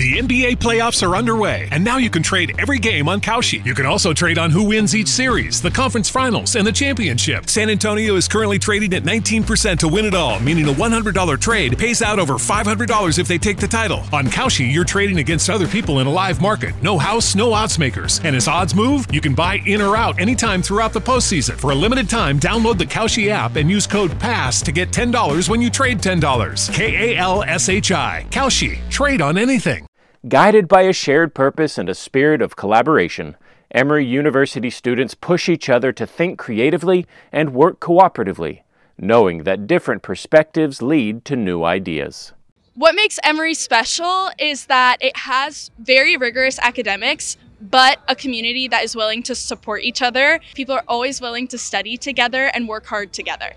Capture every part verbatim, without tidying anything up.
The N B A playoffs are underway, and now you can trade every game on Kalshi. You can also trade on who wins each series, the conference finals, and the championship. San Antonio is currently trading at nineteen percent to win it all, meaning a one hundred dollar trade pays out over five hundred dollars if they take the title. On Kalshi, you're trading against other people in a live market. No house, no odds makers. And as odds move, you can buy in or out anytime throughout the postseason. For a limited time, download the Kalshi app and use code PASS to get ten dollars when you trade ten dollars. K A L S H I. Kalshi. Trade on anything. Guided by a shared purpose and a spirit of collaboration, Emory University students push each other to think creatively and work cooperatively, knowing that different perspectives lead to new ideas. What makes Emory special is that it has very rigorous academics, but a community that is willing to support each other. People are always willing to study together and work hard together.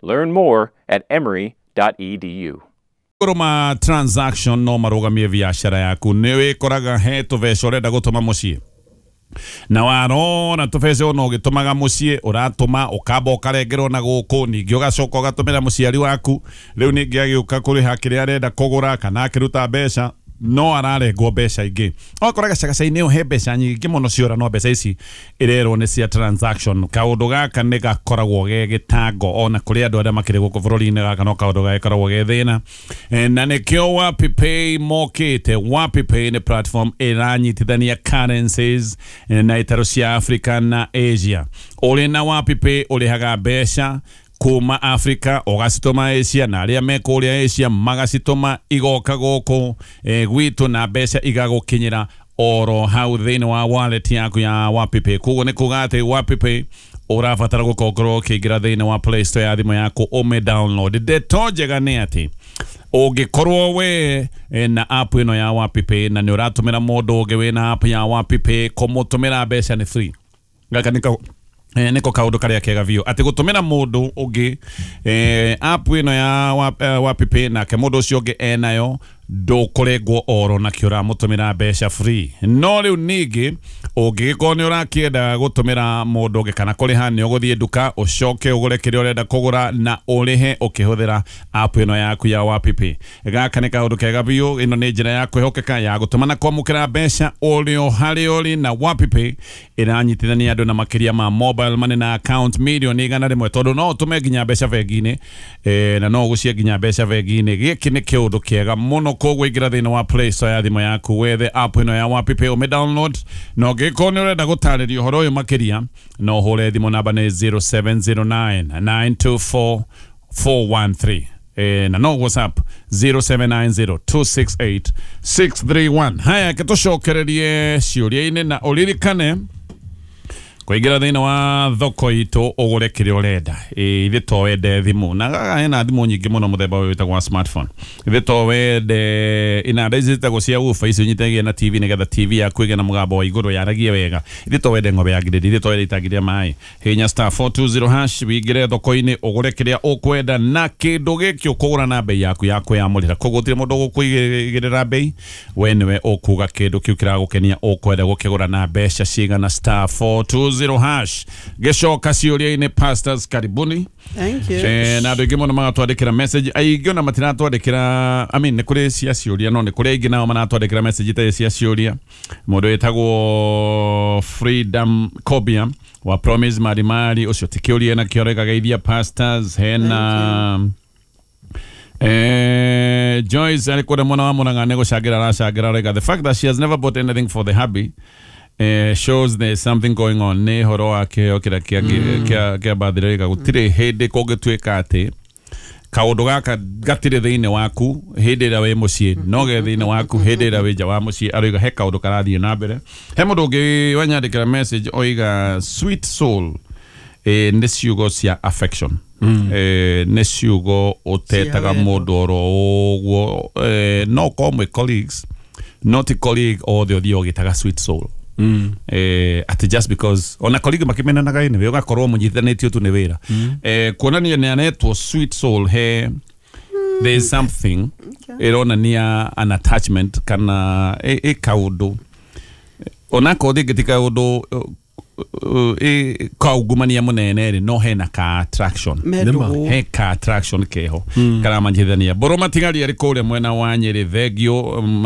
Learn more at emory dot e d u. Ma transaction no marugamie biashara yaku. Nĩ wĩkoraga he tũbeca ũrenda gũtũma mũciĩ na warora tũbeca ona ũgĩtũmaga mũciĩ, ũratũma ũkamba ũkarengerwo na gũkũ, ningĩ ũgacoka ũgatũmĩra mũciari waku. Rĩu ningĩ agĩũka kũrĩha kĩrĩa arenda kũgũra kana akĩruta mbeca no ararengwo mbeca ingĩ. Ũgakora gacagaca-inĩ ĩyo he mbeca nyingĩ mũno ciora, no mbeca ici ĩrerwo nĩ cia transaction. Kaũndũ gaka nĩ gakoragwo ge gĩtango ona kũrĩ andũ arĩa makĩrĩ gũkũ bũrũri-inĩ. Gaka no kaũndũ gagĩkoragwo ge thĩna. Eh, na nĩkĩo WapiPay mokĩte. WapiPay nĩ platform ĩranyitithania currencies eh, na itaro cia Africa na Asia. Ũrĩ na WapiPay ũrĩhaga mbeca kuma Africa ũgacitũma Asia, na arĩa me kũrĩa Asia magacitũma igoka gũkũ eh, gwitũ, na mbeca igagũkinyĩra oro hau thĩinĩ wa wallet yaku ya WapiPay. Koguo nĩ kuga atĩ WapiPay ũrabatara gũkorwo ũkĩingĩra thĩinĩ wa Play Store ya thimũ yaku ũmĩ download. Ndeto njega nĩ atĩ ũngĩkorwo we eh, na app ĩno ya WapiPay na nĩ ũratũmĩra mũndũ ũngĩ wĩna app ya WapiPay, kũmũtũmĩra mbeca nĩ free. Gaka nĩko Eh, niko kaundu karia kega biũ atĩ gũtũmĩra mũndũ ũngĩ eh, app ĩno ya Wap- eh, WapiPay nake mũndũ ũcio ũngĩ enayo, ndũkũrengwo oro nakĩo, ũramũtũmĩra mbeca free. No rĩu ningĩ ũngĩgĩkorwo nĩ ũrakĩenda gũtũmĩra mũndũ ũngĩ kana kũrĩha, nĩ ũgũthiĩ nduka ũcoke ũgũre kĩrĩa ũrenda kũgũra na ũrĩhe ũkĩhũthĩra app ĩno yaku ya WapiPay. Gaka nĩ kaũndũ kega biũ. Ĩno nĩ njĩra ya kwĩhokeka ya gũtũma na kwamũkĩra mbeca ũrĩ o harĩa ũrĩ, na WapiPay ĩranyitithania andũ na makĩria ma mobile money na account milioni igana rĩmwe, tondũ no ũtũme nginya mbeca bengi-inĩ eh, na no ũgũcie nginya mbeca bengi-inĩ. Gĩkĩ nĩ kĩũndũ kĩega mũno. Koguo ingĩra thĩinĩ wa Play Store ya thimũ yaku, wethe app ĩno ya WapiPay, ũmĩ download, na ũngĩkorwo nĩ ũrenda gũtarĩrio ũhoro ũyũ makĩria, no ũhũre thimũ, namba nĩ zero seven zero nine nine two four four one three eh, na no WhatsApp zero seven nine zero two six eight six three one. Haya, ke tũcokererie ciũria-inĩ na ũririkane kũingĩra thĩinĩ wa thoko itũ ũgũre kĩrĩa ũrenda. Ĩ, ithe to wende thimũ, na gaka hena thimũ nyingĩ mũno mũthemba ũyũ wĩtagwo wa smartphone. Ithe to wende inanda ici citagwo cia woofer, icio nyitagia na T V nĩgetha T V yaku ĩgĩe na mũgambo wa igũrũ, yaragie wega. Ithe to wende ng'ombe ya ngirĩndi, ithe to wende itangi rĩa maĩ, hinya star four two zero hash wingĩre thoko-inĩ ũgũre kĩrĩa ũkwenda, na kĩndũ gĩkĩ ũkũgũra na bei yaku ya kwĩyamũrĩra. Koguo gũtirĩ mũndũ ũgũkũigĩrĩra bei, we nĩwe ũkuga kĩndũ kĩu kĩragũkenia ũkwenda gũkĩgũra na mbeca cigana. star four two zero hash. Gĩcoka ciũria-inĩ, pastors, karibuni. Thank you. Eh, na andũ aingĩ mũno magatwandĩkĩra message, aingĩ ona matiratwandĩkĩra, I mean, nĩ kũrĩ cia ciũria, no nĩ kũrĩ aingĩ nao maratwandĩkĩra message itarĩ cia ciũria. Mũndũ wĩtagwo Freedom Kobia wa Promise Marimari, ũcio ti kĩũria nakĩo, areka pastors. Hena Eh, Joyce arĩ kũrĩa mwena wa Murang'a nĩ gũcangĩra aracangĩra, arauga the fact that she has never bought anything for the hubby eh, shows there's something going on. Nĩ ũhoro wa kĩheo kĩrĩa kĩa kĩa kĩa birthday, gũtirĩ hĩndĩ kũngĩtuĩka atĩ kaũndũ gaka gatirĩ thĩinĩ waku hĩndĩ ĩrĩa wĩ mũciĩ, no ge thĩinĩ waku hĩndĩ ĩrĩa wĩ nja wa mũciĩ. Aroiga he kaũndũ karathiĩ na mbere. He mũndũ ũngĩ wanyandĩkĩra message oiga sweet soul eh, nĩ ciugo cia affection mm. eh, nĩ ciugo ũtetaga Cia wendo. Mũndũ oro ũguo eh, no ũkorwo mwĩ colleagues, no ti colleague othe ũthiĩ ũgĩtaga sweet soul mm. eh, ati just because ona colleague makimenanaga anyway, ũgakorwo mũnyitithanĩtio tu nĩ wĩra mm. eh, kuonania nĩ anetwo sweet soul, he there is something ĩronania an attachment kana ĩ ĩ kaũndũ, onakorwo rĩngĩ ti kaũndũ uh, uh, ĩ kaungumania mũnene rĩ, no hena ka attraction. Me ndũgũ. He ka attraction keho karamanyithania. Mbũrũ matigari arĩ kũrĩa mwena wa Nyĩrĩ, thengio um,